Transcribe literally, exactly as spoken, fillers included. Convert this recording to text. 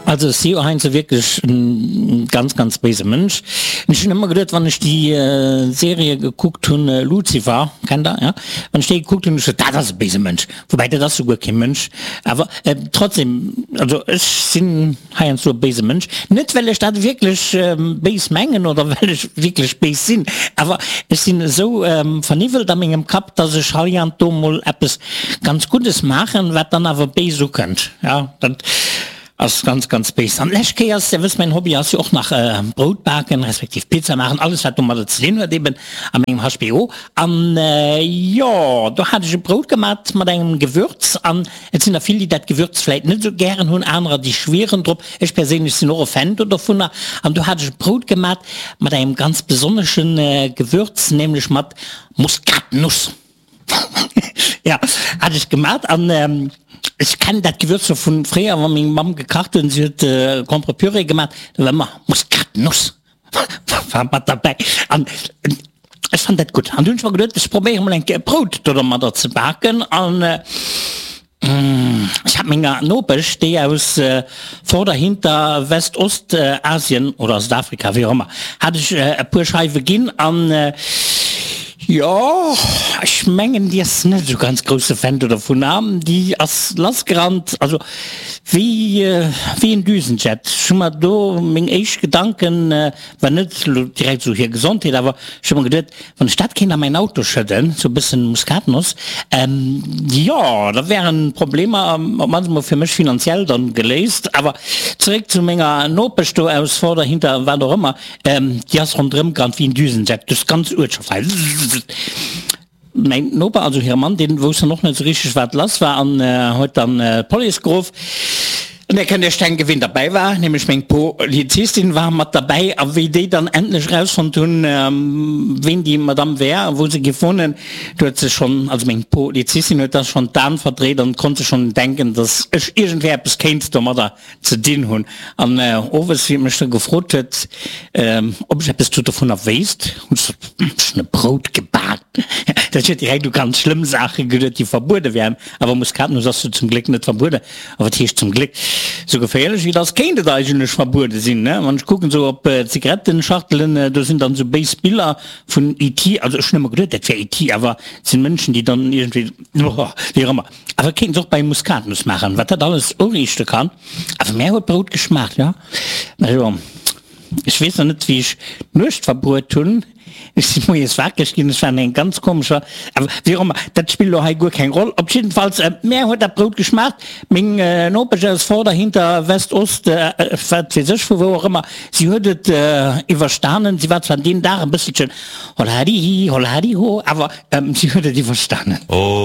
Also ech si jo heiansdo wierklech e ganz, ganz béise Mënsch. Ech hunn ëmmer geduet, wann ech déi Serie gekuckt hunn, Lucifer, kennt der, ja? Wann ech déi gekuckt hunn, hunn ech gesot, dat ass e béise Mënsch. Woubäi, dat ass souguer kee Mënsch. Awer trotzdem, also ech sinn heiansdo e béise Mënsch. Net well ech dat wierklech béis mengen oder well ech wierklech béis sinn, awer ech sinn esou verniwwelt a mengem Kapp, dass ech heiansdo mol eppes ganz Guddes maachen, wat dann awer béis ukënnt. Ja, dat ass ganz, ganz béis. An d'lescht Kéier ass, Dir wësst, mäin Hobby ass jo och nach Brout baken, respektiv Pizza maachen, alles wat domadder ze dinn huet eben a mengem H B O. An jo, do hat ech e Brout gemat mat engem Gewürz an et sinn der vill, déi dat Gewürz vläit net esou gären hunn, anerer déi schwieren drop. Ech perséinlech sinn och e Fan do dovunner. An do hat ech e Brout gemat mat engem ganz besonnesche Gewürz, nämlech mat Muskatnuss. Ja, hat ech gemat an ech kennen dat Gewürz scho vun fréier, wa meng Mamm gekacht huet, si huet Contre-Purée gemat, da war ëmmer Muskatnuss war mat derbäi an ech fand dat gutt. An du hunn ech mer geduet, ech probéiere mol eng Kéier e Brout do domadder ze baken an ech hat menger Nopesch, déi aus Vorder-, Hinter-, West-, Ost-Asien oder Südafrika, wéi och ëmmer, hat ech e puer Scheiwe ginn an jo, ech mengen, déi ass net esou ganz grousse Fan do dovun an déi ass lassgerannt, also wéi wéi en Düsenjet. Ech hu mer do, meng éischt Gedanken war net elo direkt esou hir Gesondheet, awer ech hu mer geduet, wann ech dat kéint a mäin Auto schëdden, esou e bëssen Muskatnoss, jo, da wären d'Problemer op d'mannst emol fir mech finanziell dann geléist. Awer zeréck zu menger Nopesch do aus Vorder-, Hinter-, wat och ëmmer. Déi ass ronderëm gerannt wéi en Düsenjet duerch d'ganz Uertschaft hei. Mäin Noper, also hire Mann, dee wousst dann och net esou richteg, wat lass war an huet dann d'Police geruff. An där kënnt Iech denken, wien derbäi war, nämlech meng Polizistin war mat derbäi. A wéi déi dann endlech erausfonnt hunn, wien déi Madamm wär a wou se géif wunnen, do huet se schonn, also meng Polizistin huet da schonn d'Aen verdréit an konnt sech schonn denken, dass ech iergendwéi eppes kéint domadder ze dinn hunn. An owes, wéi et mech da gefrot huet, ob ech eppes do dovunner wéisst, hunn ech gesot, Ech hunn e Brout gebak. Dat huet direkt u ganz schlëmm Saache geduet, déi verbuede wären. Awer Muskatnuss ass jo zum Gléck net verbueden. A wat heescht zum Gléck? Sou geféierlech wéi et ass, kéint et eigentlech verbuede sinn, ne? Wann ech kucken, sou op Zigarettenschachtelen, do sinn dann sou béis Biller vun E T. Also ech hunn ëmmer geduet, dat wär E T, awer et sinn Mënschen, déi dann iergendwéi, wéi och ëmmer. Awer kéint se och bei Muskatnuss maachen, wat dat alles uriichte kann. Awer mär huet d'Brout geschmaacht, jo. Also, ech weess nach net, wéi ech d'Nuecht verbruet hunn. Ech si moies wakereg ginn, ech war an engem ganz komescher, awer wéi och ëmmer, dat spillt elo hei guer keng Roll. Op jiddefalls, mär huet dat Brout geschmaacht. Meng Nopesch aus Vorder-, Hinter-, West-, Ost, wat weess ech vu wou och ëmmer, si huet et iwwerstanen. Si war zwar deen Dag e bësselchen holhadihi, holhadiho, awer si huet et iwwerstanen.